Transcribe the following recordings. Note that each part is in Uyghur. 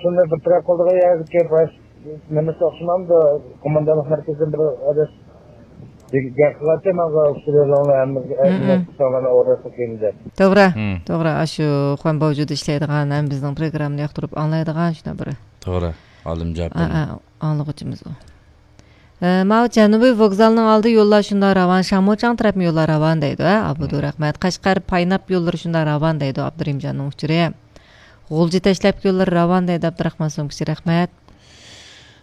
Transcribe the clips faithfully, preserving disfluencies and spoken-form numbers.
شۇنداق بىر تەرەپ قىلىدىغان يەردىكى باش نېمىسى ئوخشىمامدۇ؟ قوماندانلىق مەركىزىدىن بىر ئادەم گەپ قىلاتتى ماڭا، ئۇچۇر يولۇڭلار ھەممىگە ئەركىنلەپ تۇرساڭلارنى ئورۇنلاشتۇرۇپ دەپ. توغرا، مم. توغرا. ئاشۇ خۇەن باۋجۇدا ئىشلەيدىغان، ھەم بىزنىڭ پروگراممىنى ياقتۇرۇپ ئاڭلايدىغان شۇنداق بىر توغرا. ئالىمجان ئا، ئا، ئاڭلىغۇچىمىز ئۇ. ئە، ماۋۇ جەنۇبىي ۋوگزالنىڭ ئالدى يوللار شۇنداق راۋان، شاڭمۇچاڭ تەرەپمۇ يوللار راۋان دەيدۇ، ھە، ئابدۇ رەھمەت. قەشقەر، پايناپ يوللىرى شۇنداق راۋان دەيدۇ، ئابدۇرېھىمجاننىڭ ئۇچۇرى. غۇلجا تەشلەپكە يوللىرى راۋان دەيدۇ، ئابدۇراخمان سومكىچى، رەھمەت.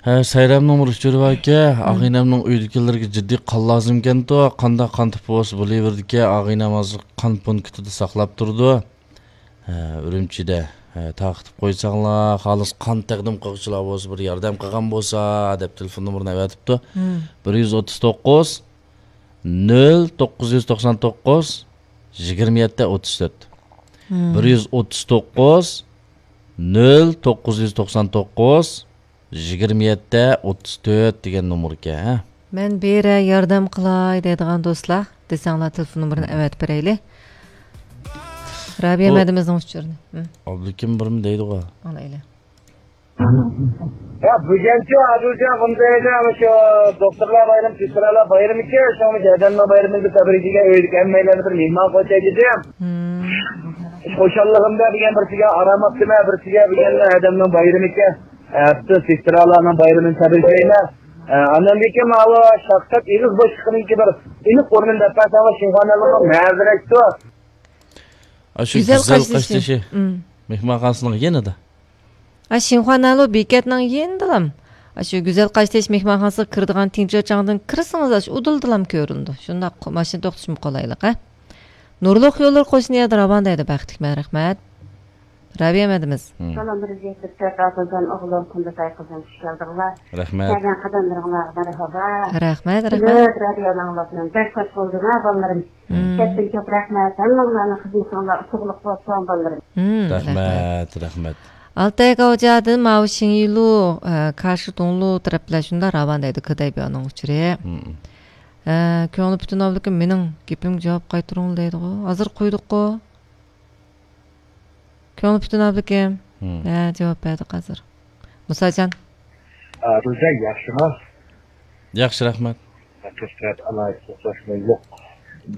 ھە، سايرامنىڭ بىر ئۇچۇرى باركەن، مم. ئاغىنەمنىڭ ئۆيدىكىلەرگە جىددىي قان لازىمكەنتۇ، قانداق قان تىپى بولسا بولۇۋېرىدىكەن، ئاغىنەم ھازىر قان پونكىتىدا ساقلاپ تۇرىدۇ. ھە، ئۈرۈمچىدە، ھە، تارقىتىپ قويساڭلار، خالىس قان تەقدىم قىلغۇچىلار بولسا، بىر ياردەم قىلغان بولسا، دەپ تېلېفون نومۇرىنى ئەۋەتىپتۇ. مم. بىر يۈز ئوتتۇز توققۇز، نۆل توققۇز يۈز توقسان توققۇز، يىگىرمە يەتتە، ئوتتۇز تۆت. مم. بىر يۈز ئوتتۇز توققۇز، نۆل توققۇز يۈز توقسان توققۇز، يىگىرمە يەتتە، ئوتتۇز تۆت دېگەن نومۇركەن، ھە؟ مەن بېرە ياردەم قىلاي دەيدىغان دوستلار دېسەڭلار، تېلېفون نومۇرىنى ئەۋەتىپ بېرەيلى. رابىيە بۇ مەدىمىزنىڭ ئۇچۇرىنى. ھە. ئابلىكىم بىرمۇ دەيدىغۇ. ئالايلى. يا، بۈگۈنچۇ ئادىلجان، بۇنداق ئەمەس، شۇ دوختۇرلار بايرىمى، سېسترالار بايرىمىكەن، شۇڭا ئادەمنىڭ بايرىمىنى تەبرىك قىلىپ ئۆيدىكى ھەممەيلەرنى بىر مېھمان قىلىپ كەتتىم. مم. خۇشاللىقىمدا دېگەن بىرسىگە، ئارام ئاپتىمەن بىرسىگە، بۈگۈن ئادەمنىڭ بايرىمىكەن. ئەپسۇس، سېسترالارنىڭ بايرىمىنى تەبرىكلەيمەن. ئە، ئاندىن كېيىن ماۋۇ شەخسەت ئېغىز بوشلۇقىنىڭكى بىر ئېنىق ئورنىنى دەپ بەرسەڭلار، شىنخۇا نەنلۇنىڭ مەزىرەتتۇ. ئاشۇ گۈزەل گۈزەل قاشتېشى. قاشتېشى. مم. مېھمانخانىسىنىڭ يېنىدا. ئا، شىنخۇا نەنلۇ بېكەتنىڭ يېنىدىلام. ئاشۇ گۈزەل قاشتېشى مېھمانخانىسىغا كىرىدىغان تىنچۇ چاڭدىن كىرسىڭىز، ئاشۇ ئۇدۇلدىلام كۆرۈنىدۇ. شۇنداق قو-، ماشىنا توختىتىشمۇ قولايلىق، ھە؟ نۇرلۇق يوللىرى قوشنا يەردە راۋان دەيدۇ، بەختلىك مەن، رەھمەت. رابىيە مەدىمىز. مم. سالام، بىر يۈز يەتتە تۆت ئادىلجان ئوغلۇم، قۇمبىتاي قىزىم، خۇش كەلدىڭلار. رەھمەت. كەلگەن قەدەملىرىڭلارغا مەرھابا. رەھمەت، رەھمەت. كۈلۈپ رادىيونى ئاڭلاپمەن. بەك خۇش بولدۇم ھە، بالىلىرىم. مم. كەچتىن كۆپ رەھمەت. ھەممىڭلارنىڭ خىزمىتىڭلار ئۇتۇقلۇق بولسۇن، بالىلىرىم. مم، رەھمەت، رەھمەت. ئالتاي گاۋجادىن ماۋۇ شىڭيىلۇ، ئە، كاشىتۇڭلۇ تەرەپلەر شۇنداق راۋان دەيدۇ، كېدەيبيانىڭ ئۇچۇرى. مم. ئە، كۆڭلى پۈتۈن ئابلىكىم، مېنىڭ گېپىمگە جاۋاب قايتۇرۇڭ دەيدىغۇ. ھازىر قويدۇققۇ. كۆڭلى پۈتۈن ئابلىكىم. مم. ھە، جاۋاب بەردۇق ھازىر. مۇساجان. ئادىلجان، ياخشىمۇ؟ ياخشى، رەھمەت. قەشقەر ئالاھىدە توختاشمۇ يوق.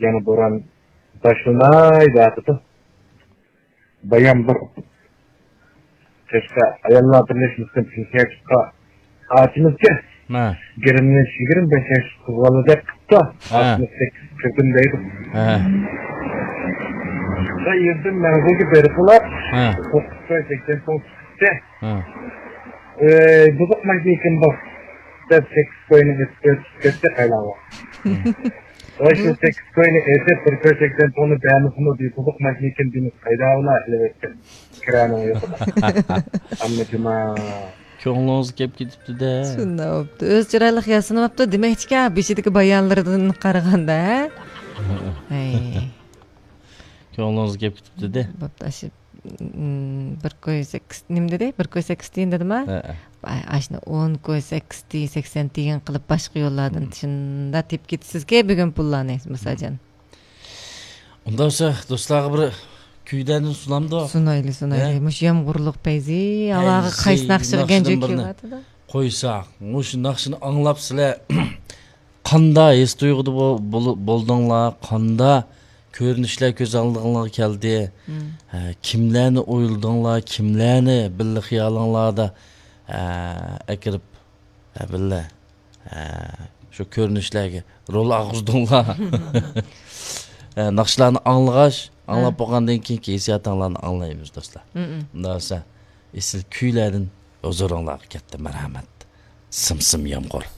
يەنە بوران باشلىناي دەۋاتىدۇ. بايام بىر قەشقەر ئاياللار بىرلەشمىسىدىن پېنسىيەگە چىققان ئاچىمىزكەن. ھە. يىگىرمە، يىگىرمە بەش ياش قىز بالىدەك قىپتۇ. ھە. ئاتمىش سەككىز كىردىم دەيدۇ. ھە. شۇ يەردىن مەنزىلگە بېرىپلا، ھە. توققۇز كوي سەكسەن سوم چىقتى. ھە. ئەي، بۇزۇق ماشىنىكىن بۇ، دەپ سەككىز كوينى ئېتىپ ئۆتۈپ كەتتى قايلاڭغا. ھە. ۋاي، شۇ سەككىز كوينى ئېتىپ، بىر كوي سەكسەن سومنى بەرمىسىمۇ دېيىپ، بۇزۇق ماشىنىكىن دېمىسە قايداغىلا ئېلىۋەتكەن. كىرانىڭ يوقىدا. ئەمما جۇما. كۆڭلىڭىز كەپ كېتىپتۇ-دە. شۇنداق بوپتۇ. ئۆزى چىرايلىق ياسىنىۋاپتۇ. دېمەكچىكى، بېشىدىكى بايانلىرىدىن قارىغاندا، ھە؟ ھەي. كۆڭلىڭىز كەپ كېتىپتۇ-دە. بوپتۇ، ئاشۇ، م، بىر كوي سەككىز، نېمە دېدى؟ بىر كوي سەككىز تىيىن دېدىما؟ ھەئە. ئاشۇنى ئون كوي سەككىز تىيىن، سەكسەن تىيىن قىلىپ باشقا يوللاردىن شۇنداق تېپىپ كېتىسىزكى بۈگۈن پۇللارنى، مۇساجان. ئۇنداق بولسا، دوستلارغا بىر كۈيلەردىن سۇنامدۇ؟ سۇنايلى، سۇنايلى. ھە؟ مۇشۇ يامغۇرلۇق پەيزى، ھاۋاغا پەيزى قايسى ناخشا ناخشىدىن كەلگەنچۇ بىرنى كېلىۋاتىدۇ؟ قويساق، مۇشۇ ناخشىنى ئاڭلاپ سىلەر قاندا ھېس تۇيغۇدا بو-، بول-، بولدۇڭلار، قاندا كۆرۈنۈشلەر كۆز ئالدىڭلارغا كەلدى؟ مم. ھە، كىملەرنى ئويلىدىڭلار، كىملەرنى بىللە خىيالىڭلاردا، ھە، ئەكىرىپ، ھە، بىللە ھە، شۇ كۆرۈنۈشلەرگە رول ئالغۇزدۇڭلار. ھە، ناخشىلارنى ئاڭلىغاچ، ئاڭلاپ ھە. بولغاندىن كېيىنكى ھېسسىياتىڭلارنى ئاڭلايمىز، دوستلار. مم. ئۇنداق بولسا، ئېسىل كۈيلەردىن ھۇزۇرۇڭلارغا كەتتى، مەرھەمەت. سىم سىم يامغۇر.